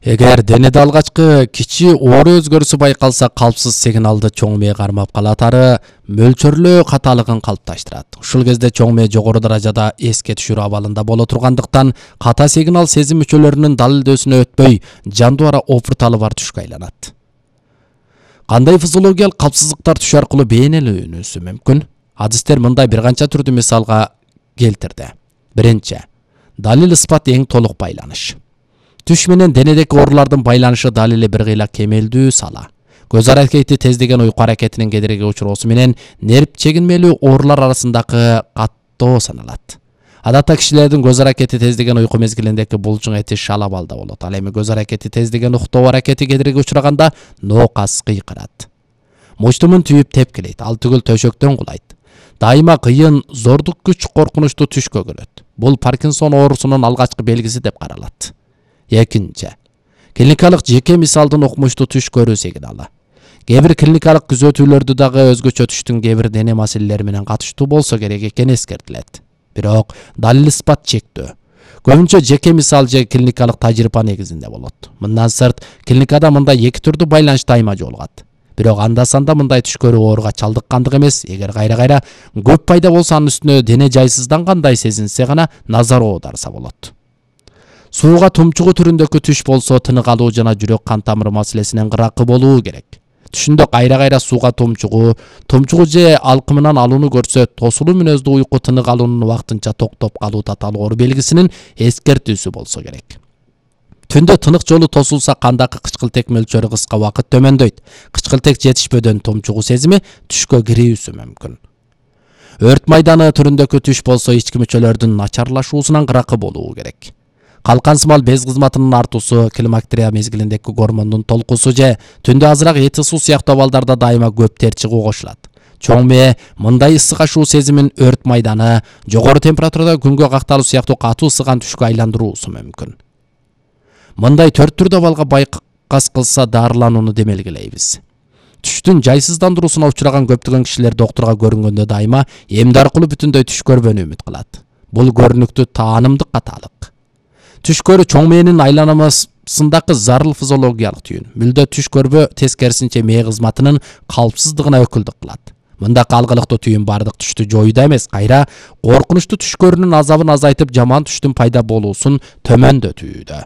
Эгер денеде алгачкы кичи оор өзгөрүүсү байкалса, калпсыз сигналды чоң мээ кармап калатары мөлчөрлөө каталыгын калыпташтырат. Ушул кезде чоң мээ жогору даражада эске түшүрүү абалында боло тургандыктан ката сигнал сезим мүчөлөрүнүн далилдөөсүнө өтпөй жандубара опурталы бар түшкө айланат. Кандай физиологиялык калпсыздыктар түш аркылуу бейнеленүүсү мүмкүн? Адистер мындай бир канча түрдүү мисалга келтирди. Биринчи, далил ысбат эң толук байланыш. Түш менен денедеки оорулардын байланышы далили бир кыйла кемелдүү сала. Көз аракети тездеген уйку аракетинин кедерги учуроосу менен нерв чегинмелүү оорулар арасындагы каттоо саналат. Адатта кишилердин көз аракети тездеген уйку мезгилиндеки булчуң эти шал абалда болот. Ал эми көз аракети тездеген уктоо аракети кедерги учураганда ноокас кыйкырат. Мучтумун түйүп тепкилейт, ал түгүл төшөктөн кулайт. Дайыма кыйын, зордук күч коркунучту түшкө көрөт. Бул Паркинсон оорусунун алгачкы белгиси деп каралат. Экинчи, клиникалык жеке мисалдын укмуштуу түш көрүү сигналы. Кээ бир клиникалык күзөтүүлөрдү дагы өзгөчө түштүн кээ бир дене маселелери менен катыштуу болсо керек экени эскертилет. Бирок далил ысбат чектөө. Көбүнчө жеке мисал же клиникалык тажрыйба негизинде болот. Мындан сырт, клиникада мындай эки түрдүү байланыш дайыма жолугат. Бирок анда-санда мындай түш көрүү ооруга чалдыккандык эмес, эгер кайра-кайра көп пайда болсо анын үстүнө дене жайсыздангандай сезинсе гана назар оодарса болот. Сууга тумчугу түрүндөгү түш болсо тынык алуу жана жүрөк кан тамыры маселесинен кыракы болуу керек. Түшүндө кайра-кайра сууга тумчугу же алкымынан алууну көрсө, тосулуу мүнөздүү уйку тынык алуунун убактынча токтоп калуу татаал оору белгисинин эскертүүсү болсо керек. Түндө тынык жолу тосулса, кандагы кычкылтек мөлчөрү кыска убакыт төмөндөйт. Кычкылтек жетишпөдөн тумчугу сезими түшкө кирүүсү мүмкүн. Өрт майданы түрүндөгү түш болсо, ички мүчөлөрдүн начарлашуусунан кыракы болуу керек. Калкансымал без кызматынын артуусу, климактерия мезгилиндеки гормондун толкусу же түндө азыраак эти суу сыяктуу абалдарда дайыма көп тер чыгуу кошулат. Чоң мээ мындай ысык ашуу сезимин өрт майданы, жогору температурада күнгө какталуу сыяктуу катуу ысыган түшкө айландыруусу мүмкүн. Мындай 4 түрдүү абалга байкас кылса дарыланууну демелгилейбиз. Түштүн жайсыздандыруусуна учураган көптөгөн кишилер доктурга көрүнгөндө дайыма эмди аркылуу бүтүндөй түш көрбөнү үмүт кылат. Бул көрүнүктүү таанымдык каталык. Түш көрүү чоң мээнин айланмасындагы зарыл физиологиялык түйүн. Мүлдө түш көрбө тескерисинче мээ кызматынын калпсыздыгына өкүлдүк кылат. Мындак алгылыктуу түйүн бардык түштү жоюуда эмес, кайра коркунучтуу түш көрүүнүн азабын азайтып, жаман түштүн пайда болуусун төмөндөтүүдө.